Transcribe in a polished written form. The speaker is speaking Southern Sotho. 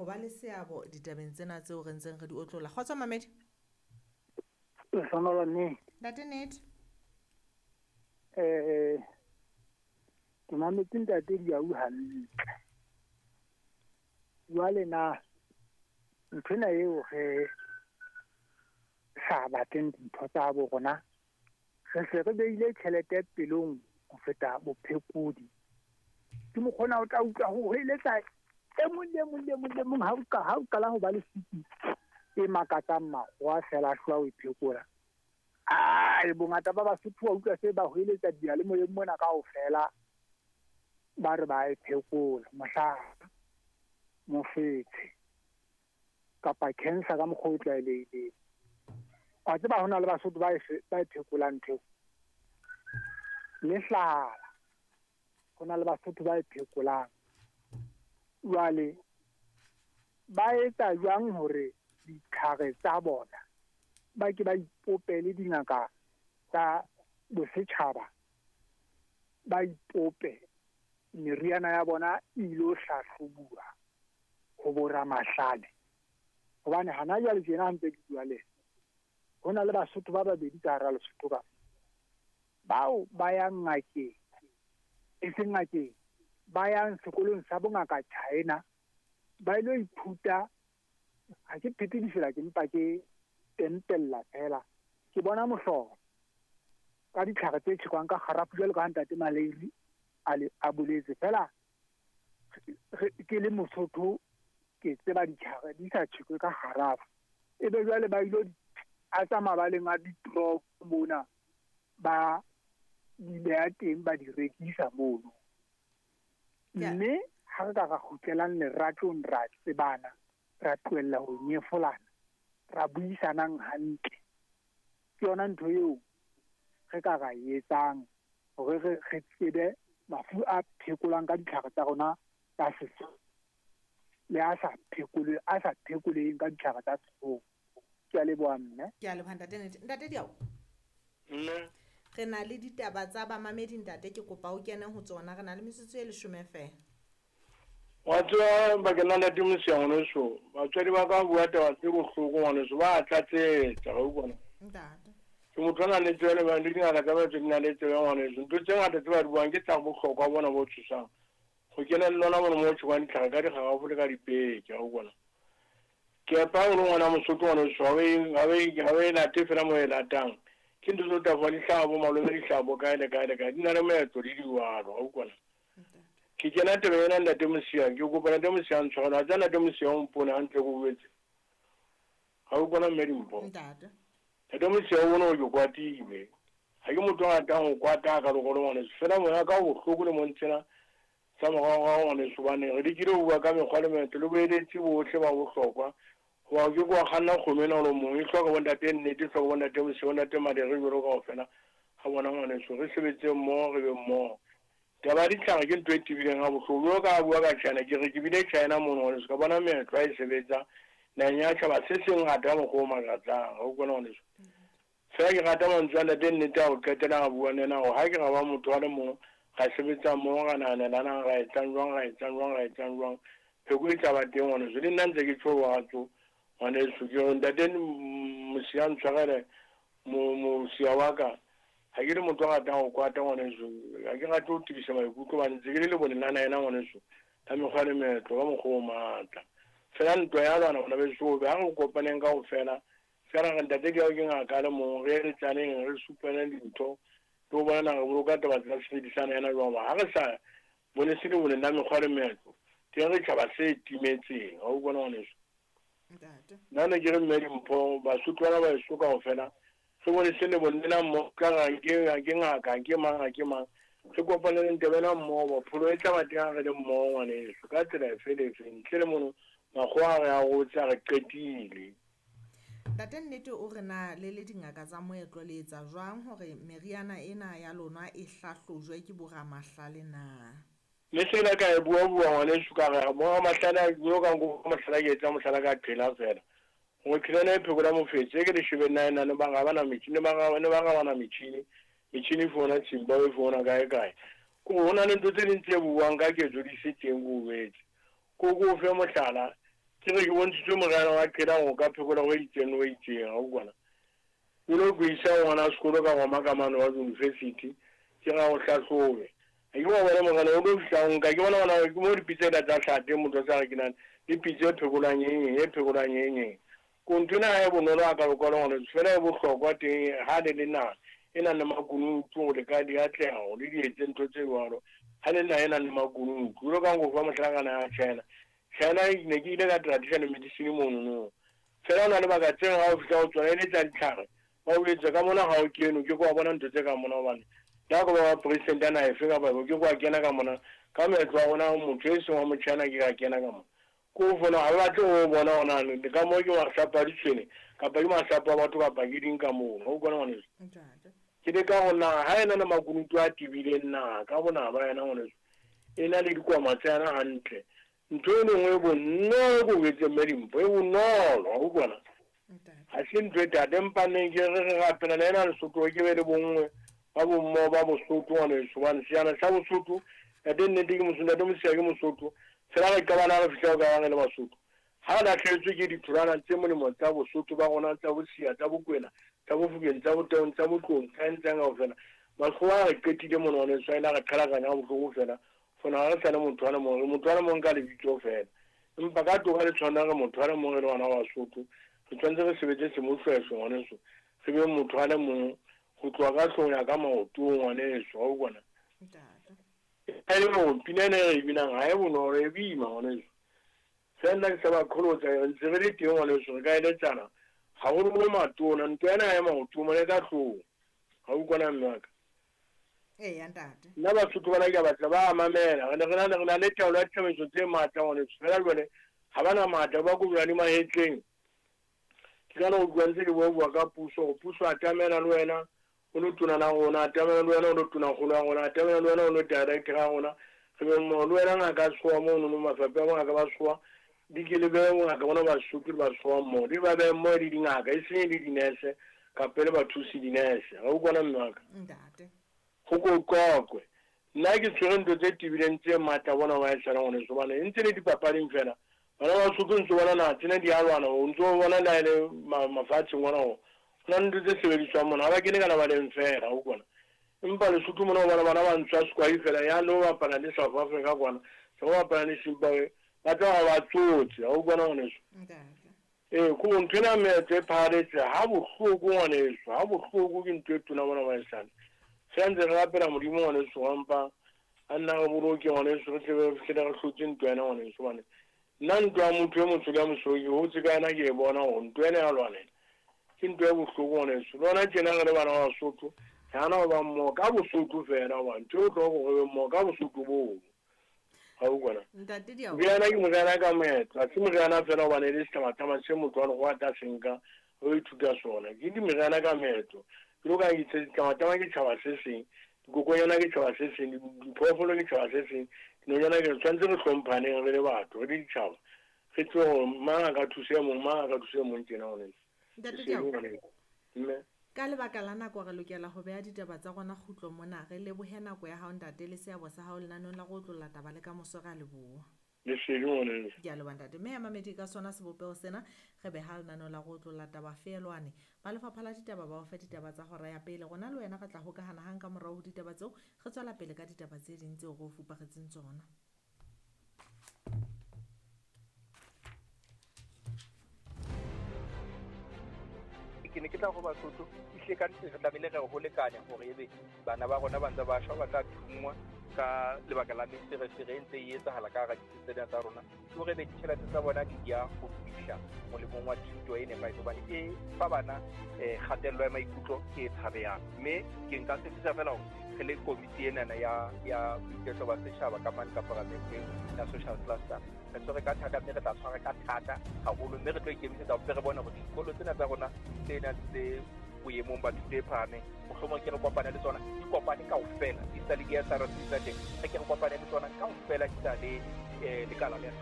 ho ba le seabo ditabeng tsena tseo re ntseng re di otlolla. Kgotso mamedi. Lehlohonolo mme. Ntate Nete. Ke mametse ntate Diau hantle. Jwale na nthwena eo re sa batleng dintho tsa bo rona, re se re beile tjhelete pelong ho feta bophekodi. Ke mokgona o tla utlwa ho hweletsa e mong le mong le mong le mong ha o qala ho ba le siki e makatsang makgowa fela a hlola o e phekola. Ai, bongata ba Basotho wa utlwa se ba hweletsa diyalemoyeng mona kaofela, ba re ba e phekola. Mohlala, mofetshe kapa cancer ka mokgwa o tlwaelehileng. Wa tseba ho na le Basotho ba e phekolang ntho eo. Le hlala, ho na le Basotho ba e phekolang. Jwale ba etsa jwang hore ditlhare tsa bona ba ke ba ipopele dingaka tsa bosetjhaba, ba ipope meriana ya bona e ilo hlahlobuwa ho boramahlale? Hobane hana jwale tjena ha ntse ke bua le ho na le Basotho ba babedi ka hara Lesotho ka bao ba yang ngakeng, e seng ngakeng, ba yang sekolong sa bongaka China, ba ilo ithuta. Ha ke phete difela, ke mpa ke tempella fela. Ke bona mohlolo ka ditlhare tse tjhekwang ka kgarafu jwalo ka ha ntate Maleiri a boletse. Fela ke le Mosotho ke tseba ditlhare di sa tjhekwe ka kgarafu. Ebe jwale ba ilo a tsa mabaleng a ditoropo mona, ba di beha teng, ba di rekisa mono. Mme ha re ka ra kgutlelang leratong, ra tsebana, ra tlohella ho nyefolana, ra buisanang hantle. Ke yona ntho eo re ka ra etsang hore re tsebe mafu a phekolwang ka ditlhare tsa rona tsa setso le a sa phekoleng ka ditlhare tsa sekgowa. Ke a leboha mme. Ke a leboha ntate Nete. Ntate Diau. Mme. Re na le ditaba tsa bamamedi ntate, ke kopa o kene ho tsona. Re na le metsotso e 10 feela. Wa tseba bakeng la ntate Mosia ngwaneso, batswadi ba ka bua taba tse bohloko ngwaneso, ba tlatsetsa, wa utlwa? Ntate. Ke motho a nang le tsebe le dingaka tsa batho di na le tsebe ngwaneso. Ntho tse ngata tse ba di buang ke tsa bohlokwa bona bo tshosang. Ho kena le lona mona mo tjhekwang ditlhare ka dikgarafu le ka dipeke, wa utlwa? Ke epa o le ngwana Mosotho ngwaneso, ha o e late fela mo e latang. Ke ntho tse o tla fuwa dihlabo, malome dihlabo, kae le kae le kae. Di na le moetlo le diwalo, wa utlwa? Ke kena taba ena ntate Mosia, ke kopa ntate Mosia ntshwarele. Ha tsa ntate Mosia o mpone hantle ke o betse. Ha o bona mme Dimpho. Ntate. Ntate Mosia o bone hore ke kwatile. Ha ke motho a ratang ho kwata ka lokolo ngwaneso. Fela moya ka o bohloko le montsena tsa moraorao ngwaneso, hobane re lekile ho bua ka mekgwa le meetlo le boeletsi bohle ba bohlokwa. Hoba o ke ke wa kganna kgomo ena o le mong, e hloka bo ntate Nnete, e hloka bo ntate Mosia, bo ntate Madere jwalo kaofela ha bona ngwaneso. Re sebetse mmoho, re be mmoho. Taba ya ditlhare ke ntho e tebileng ha bohloko. Jwalo ka ha bua ka China, ke re ke bile China mono ngwaneso, ka bona meetlo ha e sebetsa naheng ya tjhaba se seng ngata ka mokgwa o makatsang. Ha o utlwa ngwaneso? Fela ke rata mantswe a ntate Nnete a ho qetela a bua le yena hore ha ke ra ba motho a le mong, ra sebetsa mmoho, ra nahanelanang, ra etsang jwang, ra etsang jwang, ra etsang jwang. Pheko e tla ba teng ngwaneso. Le nna ntse ke tjho watso ngwaneso, ke re ntate Mosia ntshwarele, Mosia wa ka. Ha ke le motho a ratang ho kwata ngwaneso, ha ke rate ho tebisa maikutlo hobane ntse ke le leboneng la naha ena ngwaneso, la mekgwa le meetlo ka mokgwa o matla. Fela ntwa ya lwana bana beso, ha re kopaneng kaofela, se ra re ntate Diau ke ngaka a le mong, re eletsaneng, re supaneng dintho, le ho bona na re boloka taba tsa sebedisana ena jwang. Ha re sa bone se leboneng la mekgwa le meetlo, teng re tjhaba se timetseng. Ha o bona ngwaneso? Ntate. Nna ne ke re mme Dimpho, Basotho bana ba heso kaofela, re bone se leboneng lena mmoho, ka re ha ke ngaka, ha ke mang, ha ke mang. Re kopaneleng taba ena mmoho, pholo e tla ba teng ha re le mmoho ngwaneso, ka tsela efe le efe. Ntle le mono, makgowa a re arotse, a re qetile. Ntate Nnete o re na le le dingaka tsa moetlo le etsa jwang hore meriana ena ya lona e hlahlojwe ke boramahlale na? Le se la ka e bua bua ngwaneso, ka re boramahlale a yo ka nko mohlala ke etsa mohlala ka qhela fela. Hore qhela ena e phekola mofetshe, e ke le shebe nna ena, ne ba ra bana metjhini, ne ba ra, ne ba ra bana metjhini, metjhini e fona Zimbabwe, e fona kae kae. Ko ho na le ntho tse ding tse buang ka ketso di se teng ko wetse. Ko ko fe mohlala, Ke re ke bontshitswe moriana wa qhela go ka phekola go itseng le go itseng, ga o kwana. O lo ko isa ngwana sekolo ka goma ka mane wa university, ke ga o hlahlobe. Ga ke wa bona moriana o lo fihla o nka, ke bona gona ke mo dipitsa ela tsa hlate motho a sa re ke nane le pitsa e phekolang eng eng, e phekolang eng eng. Ko ntho ena ga e bonolo a ka lokwalo ngwaneso, fela e bohlokwa teng ha le le naha e nang le makunutu gore le ka di atlega gore le di etse ntho tse jwalo. Ha le naha e nang le makunutu, jwalo ka nko fa mohlala ka naha ya China. China ne ke ile ka traditional medicine monono. Fela o na le baka tseng ha o fihla ho tsona e le tsa ditlhare, ba o etsa ka mona ha o kene, o ke ke wa bona ntho tse ka mona hobane le ha ko ba president ya naha efe kapa efe, o ke ke wa kena ka mona. Ka moetlo wa rona motho e seng wa motjhana ke ka kena ka mona. Ko fona ha ba batle ho bona hona le ka moo ke masapo a ditshwene kapa ke masapo a batho kapa ke ding ka mono. O kwana ngwaneso. Ke le ka go na ha ena le makunutu a tebileng na ka bona ba yena ngwaneso. E na le dikwama tsa yena hantle. Ntho e lengwe e bonolo ko etseng mme Dimpho e bonolo, o kwana. Ha se ntho e thata, empa neng ke re re rapela le ena Lesotho ke be le bonngwe ba bommo ba Bosotho ngwaneso, hobane sejana sa Bosotho ntate nnete ke Mosotho, ntate Mosia ke Mosotho, fela re qabana ha re fihla ho ka bang re le Basotho. Ha re lahlehetswe ke ditholwana tse molemo tsa Bosotho ba rona, tsa Bosia, tsa Bokwena, tsa Bofokeng, tsa Botaung, tsa Botlong, tsa eng tsa eng kaofela, Makgowa a re qetile mona ngwaneso, a ile a re qhalakanya ha bohloko fela. Fona ha re sa le motho a le mong, re motho a le mong ka lebitso fela. Empa ka toka le tshwana re motho a le mong re le bana ba Basotho, re tshwanetse re sebetse semohlwehlo ngwaneso, re be motho a le mong ho tloha ka hloohong ya ka maotong ngwaneso, wa utlwa na? E le hore pina ena e re e binang ha e bonolo, e boima ngwaneso. Fela nna ke sa ba qholotsa, re ntse re le teng ngwaneso, re ka eletsana haholoholo matona, ntwa ena ha e maotong mona e ka hloohong, ha utlwa na mme wa ka? Eya ntate. Nna Basotho bana ke a batla ba a mamela. Re ne re na le re na le taolo ya ditsamaiso tse matla ngwaneso. Fela jwale ha ba na matla ba kobjwa di mahetleng. Ke ka no utlwa ntse ke bua bua ka puso gore puso atamela le wena o lo tona la rona, atamela le wena o lo tona kgolo ya rona, atamela le wena o lo director ya rona. Re be mmoho le wena ngaka ya sekgowa mono no mafapha a bongaka ba sekgowa di ke le behe bongaka bona Basotho le ba sekgowa mmoho. Di ba behe mmoho le dingaka e seng le dinese kapa le bathusi dinese. Ga o kwana mme wa ka? Ntate. Go ko qoqwe. Nna ke tshwere ntho tse tebileng tse matla bona wa esala ngwaneso hobane e ntse le dipapading fela. Bana ba Basotho ntse bona naha tsena di a lwana, o ntse o bona le ha e le mafatsheng ona hore ho na le ntho tse sebediswang mona, ha ba kene ka lebaleng fela, o utlwa na? Empa Lesotho mona o bona bana ba ntswa sekwai fela ya lo bapala le South Africa kwana, se ba bapala le Zimbabwe, ba tla ba tsotse, ha o utlwa na ngwaneso? Ee, ko ntho ena meetlo e phahaletse ha bohloko ngwaneso, ha bohloko ke ntho e tona mona baesane. Fela ntse re rapela Modimo ngwaneso wa mpa a nna re boloke ngwaneso, re tle re fihlele re hlotse ntwa ena ngwaneso, hobane nna ntwa ya motho e motsho le ya mosweu ke hotse ka yona ke e bona hore ntwa ena ya lwanela ke ntwa e bohloko ngwaneso. Le hona tjena re le bana ba Basotho re hana ho ba mmoho ka Bosotho fela, hobane ntho e bohlokwa ke hore re be mmoho ka Bosotho boo. Ga o kwana? Ntate Diao. Moriana ke moriana ka moetlo, ha se moriana fela hobane e le setlamatlama se motho wa lekgowa a tla se nka o ithuta sona. Ke dimeriana ka moetlo. Jwalo ka ha ke itse, ditlamatlama ke tjhaba se seng, dikokonyana ke tjhaba se seng, diphoofolo ke tjhaba se seng, dinonyana ke tshwanetse re hlomphaneng re le batho, re le ditjhaba. Re tsebe hore mang a ka thusa e mong, mang a ka thusa e mong tjena ngwaneso. Ntate Diao. Mme. Ka lebaka la nako re lokela ho beha ditaba tsa rona kgutlo mona. Re lebohe nako ya hao ntate le seabo sa hao lenaneong la go otlolla taba le ka moso, re a leboha. Lesedi ngwaneso. Ke a leboha ntate. Mme ya mamedi ka sona sebopeho sena re beha lenaneo la go otlolla taba feelwane. Ba lefapha la ditaba ba o fe ditaba tsa hora ya pele. Rona le wena re tla hokahana hang ka morao ho ditaba tseo, re tswela pele ka ditaba tse ding tseo re o fuparetseng tsona. Ke ne ke tla go Basotho ehlile ka nnete re tlamehile re ho lekanya hore ebe bana ba rona ba ntse ba shwa, ba tla thunngwa ka lebaka la meferefere e ntse e etsahala ka hara ditsi tsena tsa rona, ke hore ebe ditjhelete tsa bona di ya ho fihla molemong wa thuto e nepahetseng, hobane e fa bana kgatello ya maikutlo e tshabehang. Mme ke nka tshepisa fela hore re le komiti enana ya boiketlo ba setjhaba ka mane ka paramenteng ya social cluster, re tshwere ka thata mme re tla tshwara ka thata haholo, mme re tlo ikemisetsa hore re bone hore dikolo tsena tsa rona tse nang tse boemong ba thuto e phahameng, mohlomong ke re kopane le tsona, di kopane kaofela, di sa le di-S R C tsa teng, re ke re kopane le tsona kaofela, di sa le lekala le